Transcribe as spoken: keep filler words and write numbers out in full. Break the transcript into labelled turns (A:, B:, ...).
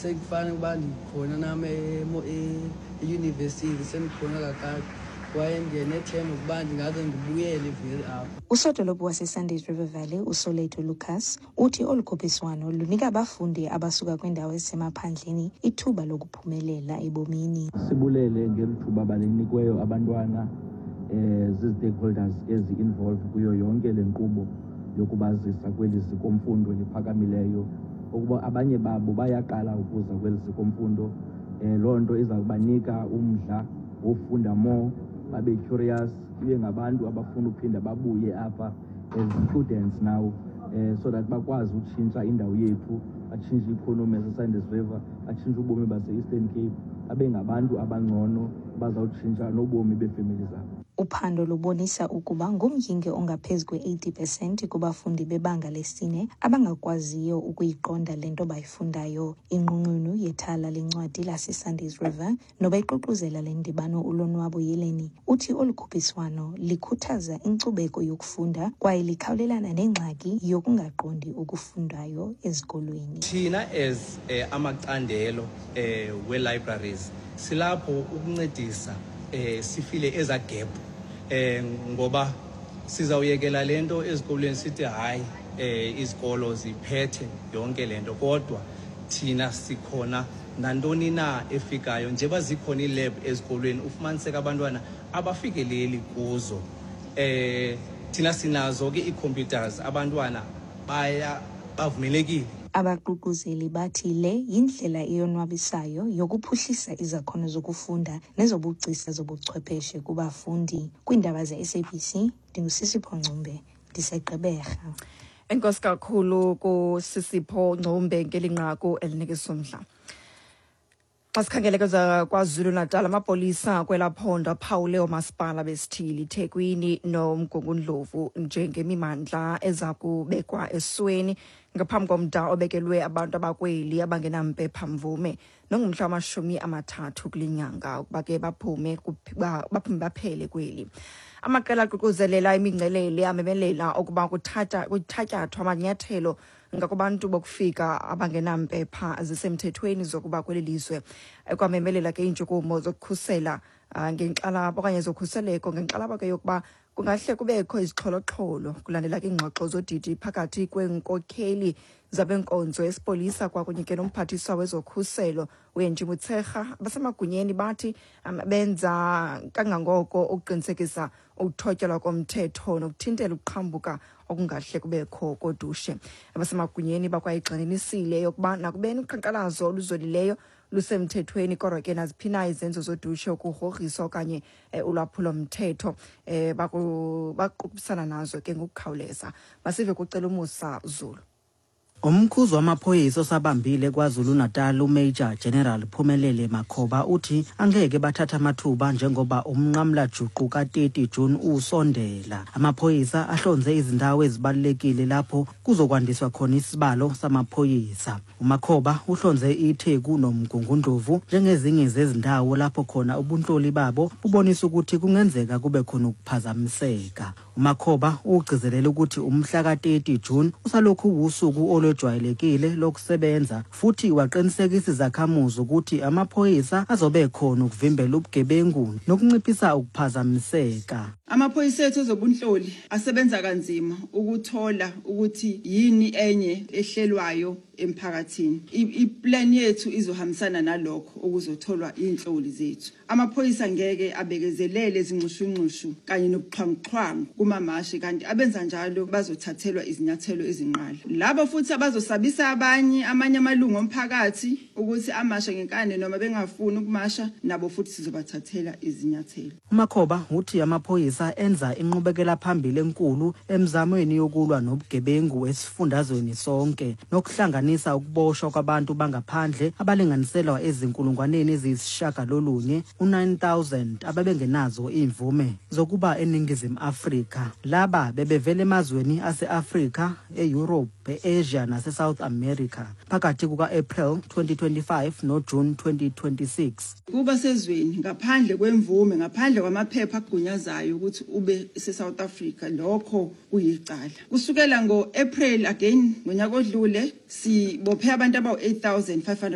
A: Sekufana ukuba ndikhona nam eyunivesithi, sendikhona kakade kwaye ndinethemba ukuba ndingaze ndibuyele vele apha.
B: Usodolophu waseSundays River Valley, uSoleto Lucas, uthi olu khuphiswano lunika abafundi abasuka kwiindawo ezisemaphandleni ithuba lokuphumelela ebomini.
C: Sibulele ngeli thuba balinikiweyo abantwana eh zii-stakeholders ezi-involved kuyo yonke le nkqubo yokubazisa kweli ziko-mfundo liphakamileyo, ukuba abanye babo bayaqala ukuza kweli ziko-mfundo. um loo nto iza kubanika umdla wofunda more, babe curious, ibe ngabantu abafuna uphinda babuye apha as students now, um so that bakwazi utshintsha indawo yethu, batshintshe i-economy yaseSundays River, batshintshe ubomi base-Eastern Cape, babe ngabantu abangcono abazawutshintsha nobomi beefemeli zabo.
B: Uphando lubonisa ukuba ngumyinge ongaphezu kwe-eighty pesenti kubafundi bebanga lesine abangakwaziyo ukuyiqonda le nto bayifundayo. Inqununu yethala lencwadi laseSundays River nobeququzela le ndibano, uLonwabo Yeleni, uthi olu khuphiswano likhuthaza inkcubeko yokufunda kwaye likhawulelana nengxaki yokungaqondi okufundayo ezikolweni.
D: Thina as eh, amacandelo eh, we-libraries silapho ukuncedisa eh, sifile eza gap, eh, ngoba sizawuyekela le nto ezikolweni sithi hayi, eh, izikolo ziphethe yonke le nto, kodwa thina sikhona nantoni na efikayo. Njengoba zikhona ii-lab ezikolweni, ufumaniseka abantwana abafikeleli kuzo. eh thina sinazo ke ii-computers, abantwana baya bavumelekile.
B: Abaququzeli bathi le yindlela eyonwabisayo yokuphuhlisa izakhono zokufunda nezobugcisa zobuchwepheshe kubafundi. Kwiindaba ze-S A B C, ndinguSisipho Ngcumbe, ndiseGqeberha.
E: Enkosi kakhulu kuSisipho Ngcumbe ngeli nqaku elinikisa umdla. Xa sikhangele kweza KwaZulu-Natal, amapolisa kwelaa phondo aphawule oomasipala besithili iThekwini noMgungundlovu njengemimandla eza kubekwa esweni ngaphambi komda obekelwe abantu abakweli abangenampepha-mvume, nongumhla wamashumi amathathu kule nyanga, ukuba ke baphume kuphi- ba- baphume baphele kweli. Amaqela aququzelela imingcelele amemelela ukuba kuthatha kuthatyathwa amanyathelo ngakubantu bokufika abangenampepha zisemthethweni zokuba kweli lizwe. Kwamemelela ke iintshukumo zokukhusela ah, ngenkxalabo okanye zokhuseleko, ngenkxalabo ke yokuba kungahle kubekho izixholoxholo kulandela ke iingxoxo zodidi phakathi kweenkokheli zabenkonzo esipolisa kwakunye ke nomphathiswa wezokhuselo uAngie Motshekga. Abasemagunyeni bathi um, benza kangangoko ukuqinisekisa ukuthotyelwa komthetho nokuthintela ukuqhambuka okungahle kubekho kodushe. Abasemagunyeni bakwayigxininisile yokuba nakubeni uqhankqalazo oluzolileyo lusemthethweni, kodwa ke naziphi na izenzo zodushe, ukugrogriswa okanye eh, ulwaphulomthetho eh, baku- baqubisana nazo ke ngokukhawuleza. Masive kucela uMusa Zulu.
F: Umkhuzi wamaphoyisa osabambile KwaZulu-Natal, uMajor General Phumelele Makhoba, uthi angeke bathathe amathuba njengoba umnqamlajuqu ka-thirty June usondela. Amaphoyisa ahlonze izindawo ezibalulekile lapho kuzokwandiswa khona isibalo samaphoyisa. UMakhoba uhlonze iTheku noMgungundlovu njengezinye zezindawo lapho khona ubunhloli babo bubonisa ukuthi kungenzeka kube khona ukuphazamiseka. UMakhoba ugcizelela ukuthi umhla ka-thirty June usalokhu usuku olwejwayelekile lokusebenza, futhi waqinisekisa izakhamuzi ukuthi amaphoyisa azobe khona ukuvimbela ubugebengu nokunciphisa ukuphazamiseka.
G: Amaphoyisa ethu ezobunhloli asebenza kanzima ukuthola ukuthi yini enye ehlelwayo emphakathini. I- I-plan yethu izohambisana nalokho okuzotholwa inhloli zethu. Amaphoyisa ngeke abekezelele izinxushunxushu kanye nobuxhwanguxhwangu kumamashi, kanti abenza njalo bazothathelwa izinyathelo ezinqala. Labo futhi abazosabisa abanye amanye amalungu omphakathi ukuthi amashe ngenkani noma bengafuni ukumasha, nabo futhi sizobathathela izinyathelo.
F: UMakhoba uthi amaphoyisa enza inqubekela phambili enkulu emzamweni yokulwa nobugebengu esifundazweni sonke, nokuhlanganisa ukuboshwa kwabantu bangaphandle abalinganiselwa ezinkulungwaneni eziyisishiyagalolunye, u-nine thousand, ababengenazo imvume zokuba eNingizimu Afrika. Laba bebevela emazweni ase-Afrika, e-Europe, e-Asia nase-South America phakathi kuka-April twenty twenty-five noJune twenty twenty-six.
G: Kuba sezweni ngaphandle kwemvume, ngaphandle kwamaphepha agunyazayo ukuthi ube se-South Africa, lokho kuyicala. Kusukela ngo-April again ngonyaka odlule, sibophe abantu abawu eight thousand five hundred.